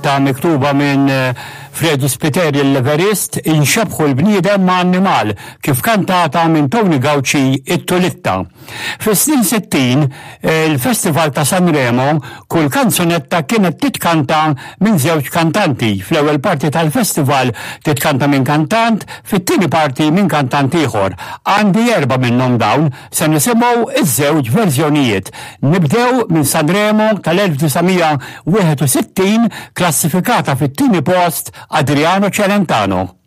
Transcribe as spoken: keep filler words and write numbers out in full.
Kanzunetta miktuba minn eh, Freddie Spiteri l-Everist, "Inxebbħu l-bniedem ma' annimal", kif kantata minn Tony Gauci it-Tulitta. Fis-snin sittin, eh, il-Festival ta' Sanremo, kull kanzunetta kienet titkanta minn żewġ kantanti. Fl-ewwel parti tal-festival titkanta minn kantant, fit-tieni parti minn kantant ieħor. Għandi erba' minnhom dawn, se nisimgħu iż-żewġ verżjonijiet. Nibdew minn Sanremo tal-elf disa' mija wieħed u sittin, klassifikata fit-tieni post, Adriano Celentano.